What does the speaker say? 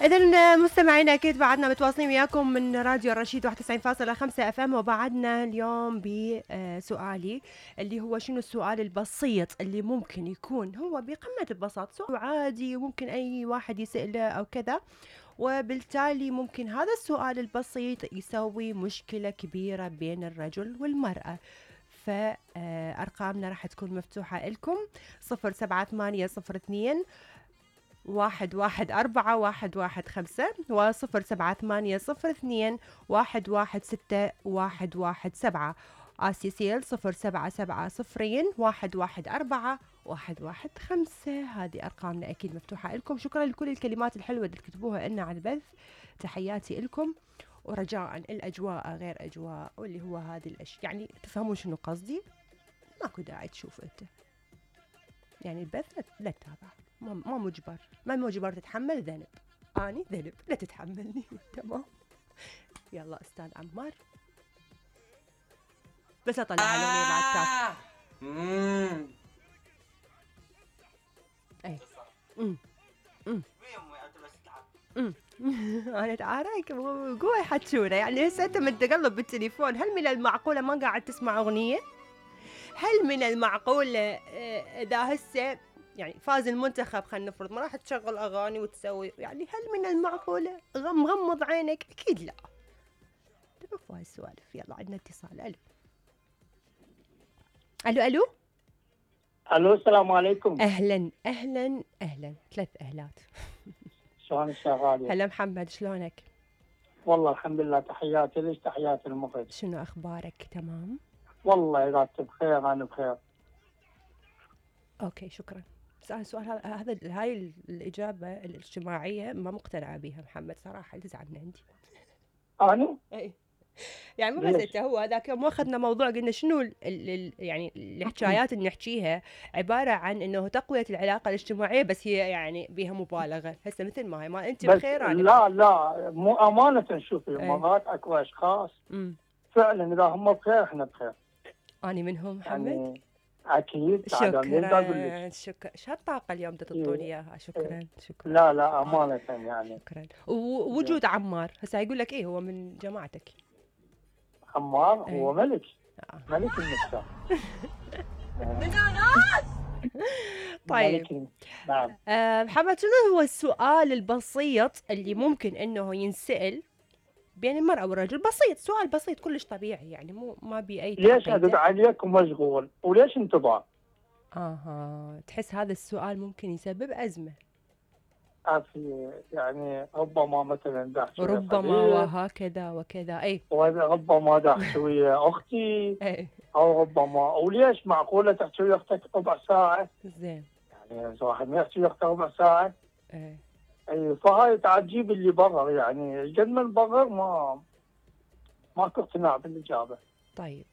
إذا مستمعينا أكيد بعدنا متواصلين وياكم من راديو الرشيد 91.5 اف ام، وبعدنا اليوم بسؤالي اللي هو شنو السؤال البسيط اللي ممكن يكون هو بقمة البساطة، سؤال عادي وممكن أي واحد يسأله أو كذا، وبالتالي ممكن هذا السؤال البسيط يسوي مشكلة كبيرة بين الرجل والمرأة. فأرقامنا راح تكون مفتوحة لكم 07802 114 115 و07802 116 آسيسيل 077 114 115. هذه أرقامنا أكيد مفتوحة لكم. شكرا لكل الكلمات الحلوة اللي تكتبوها لنا على البث، تحياتي لكم. ورجاء الأجواء غير أجواء، واللي هو هذه الأشياء يعني تفهمون شنو قصدي. ماكو داعي تشوف أنت يعني البث لا تتابع، ما مجبر، ما مجبر تتحمل ذنب. أني ذنب لا تتحملني. تمام. يلا أستاذ عمار، بس أطلع الأغنية مع التاك. أي أنا تعارك قوي حتشونا يعني. هسه أنت متقلب بالتليفون، هل من المعقولة ما قاعد تسمع أغنية؟ هل من المعقولة إذا هسه يعني فاز المنتخب خلينا نفرض ما راح تشغل أغاني وتسوي يعني؟ هل من المعقولة مغمض عينك؟ أكيد لا. تعرفوا هاي السوالف. يلا عندنا اتصال. ألو ألو ألو الو السلام عليكم. أهلا أهلا أهلا، 3 أهلات. شلونك يا غالية؟ هلا محمد، شلونك؟ والله الحمد لله، تحياتي ليش تحياتي المخرج. شنو أخبارك؟ تمام والله إذا أنت بخير أنا بخير. أوكي شكرا. سؤال هذا هاي الإجابة الاجتماعية ما مقتنعة بها محمد صراحة، تزعلنا عندي. أنا؟ أي يعني مو بس انت، هو هذاك يوم اخذنا موضوع قلنا شنو يعني الحكايات اللي نحكيها عباره عن انه تقويه العلاقه الاجتماعيه، بس هي يعني بها مبالغه. هسه مثل ما هي، ما انت بخير انا لا لا، مو امانه شوفي مرات اكو اشخاص فعلا اذا هم بخير احنا بخير. اني منهم محمد يعني اكيد. شكرا شكرا. شو هالطاقه اليوم تعطوني اياها. شكرا شكرا. لا لا امانه يعني. شكرا. ووجود عمار هسه يقول لك ايه هو من جماعتك. عمار هو ملك. ملك النساء. طيب نعم. محمد، شنو هو السؤال البسيط اللي ممكن انه ينسأل بين المرأة والرجل؟ بسيط، سؤال بسيط كلش طبيعي يعني، مو ما بي اي ليش ادق عليك ومشغول وليش انتظار؟ تحس هذا السؤال ممكن يسبب أزمة؟ يعني ربما مثلا داحت ربما وهكذا وكذا. اي ربما داحت ويا اختي. اي او ربما وليش معقوله تحكي ويا اختك ربع ساعه؟ زين. يعني واحد ما يحكي ويا اخته ربع ساعه. اي فهاي تعجيب اللي برر يعني قد ما نبرر ماكو اقتناع بالاجابه. طيب